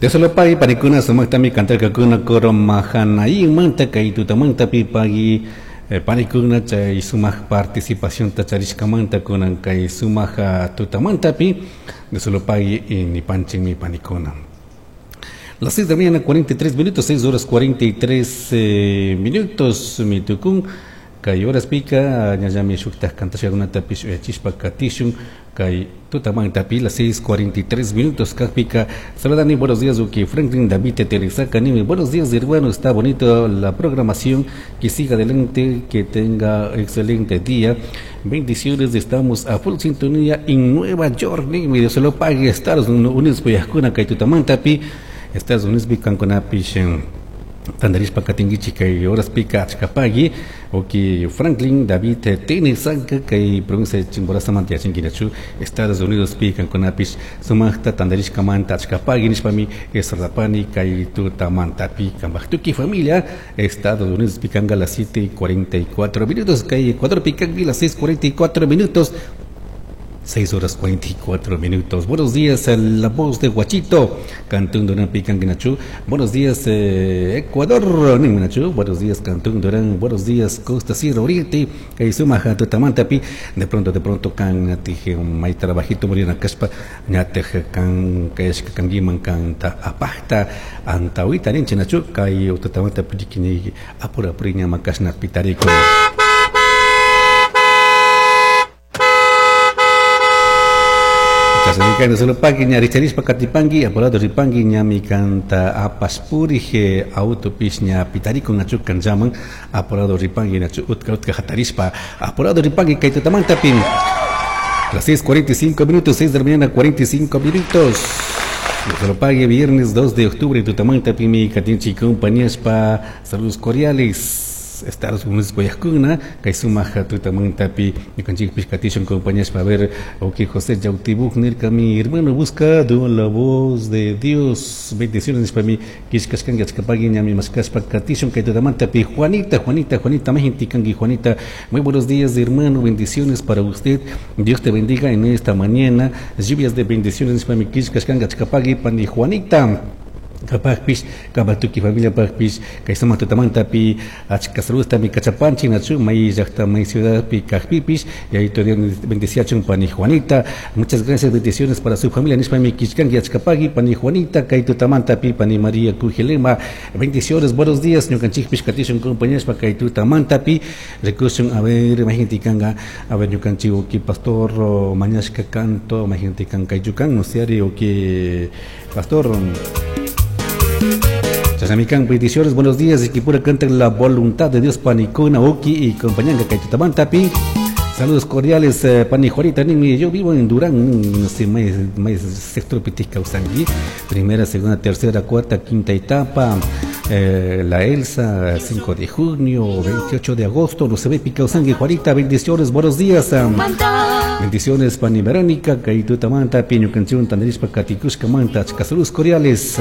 Dios lo pague, panikuna sumaqtami kantarkakuna coro Mahanaímmanta kay tutamantapi pagui panikuna chay sumaq participacionta charishkamanta kunan kay sumaq tutamantapi Dios lo pague nipanchinmi panikuna. Las 6 de la mañana, 43 minutos, 6 horas 43 minutos, mitukun, kay horas pica, ñallami shuktaj kantashkakunatapish uyachishpa katishun, kay tutamantapi, las 6:43 minutos, kajpika, saludani, buenos días, uki Franklin David Teresaca, nimi, buenos días, hermano, está bonito la programación, que siga adelante, que tenga excelente día, bendiciones, estamos a full sintonía en Nueva York, nimi, Dios se lo pague, Estados Unidos, puyajkuna, kay tutamantapi, Estados Unidos kankunapish tandarishpa katinkichik kay horaspika achkapagui uki Franklin David Tenesanka kay provincia de Chimborazamanta yachankinachu Estados Unidos pi kankunapish sumaqta tandarishkamanta achkapagui nishpami esardapani kay tutamantapi kanpaj tukuy familia Estados Unidos pi kanka las 7:44 minutos kay Ecuador pi kanki las 6:44 minutos. 6 horas 44 minutos. Buenos días, la voz de Guachito, Cantón Durán Picanguinachu. Buenos días, Ecuador, Ningunachu. Buenos días, Cantón Durán. Buenos días, Costa Sierra Oriente. Suma Tutamantapi. De pronto, can, tije, may trabajito, murina caspa, ñateje, can, kayashka, canguiman, canta, apajta, antawita, ninchinachu, kay, Tutamantapi, dikini, apura, puriña, macasna, pitarico. Chasnami solo pagui ña richarishpa katipangui apurado ripangui ñami kanta apaspurije autopish ña pitarikun nachu kanllaman apurado ripangui nachu utka utka hatarishpa apurado ripangui kay tutamantapi. Las 6:45 minutos, 6 de la mañana 45 minutos. Solo pague viernes 2 de octubre tutamantapi mi katinchi compañíaspa saludos cordiales. Estados Unidos Guayacuna, kay sumaq tutamantapi ñukanchikpish katishun compañías para ver ok José Yautibuk nirka mi hermano buscado la voz de Dios, bendiciones para mí kishkashkanki achkapagui ñami mashkashpa katishun kay tutamantapi. Juanita, Juanita, Juanita majintikanki Juanita, muy buenos días hermano, bendiciones para usted, Dios te bendiga en esta mañana, lluvias de bendiciones para mí kishkashkanki achkapagui pani Juanita. Kapajpish, kapatuki familia pajpish, kay sumaq tutamantapi, achka saludos mi kachapanchi, nachu, may llaqta, may ciudadpi kajpipish, y ahí todavía bendeciachun pani Juanita, muchas gracias, bendiciones para su familia, nishpa mi kishkanki achkapagui, pani Juanita, kay tutamantapi, pani María Kujelema, bendiciones, buenos días, ñukanchikpish katishun compañeros, kay tutamantapi, rikushun, a ver, imagínate a ver, ñukanchik, uki pastor, mañashka canto, imagínate kay yukan, no sé, uki pastor. Chasamican, bendiciones, buenos días, y que pura canten la voluntad de Dios, Panicona, Oki y compañía Kaitamantapi. Saludos cordiales, Pani Juanita, nimi, yo vivo en Durán, no sé, más sector Pitisca, Usangui, primera, segunda, tercera, cuarta, quinta etapa, la Elsa, 5 de junio, 28 de agosto, no se ve Pica Usangui, Juanita, bendiciones, buenos días. Bendiciones, Pani Verónica, Kaitutamanta, Piño Canción, Tanderispa, Katikushka, Manta, saludos cordiales.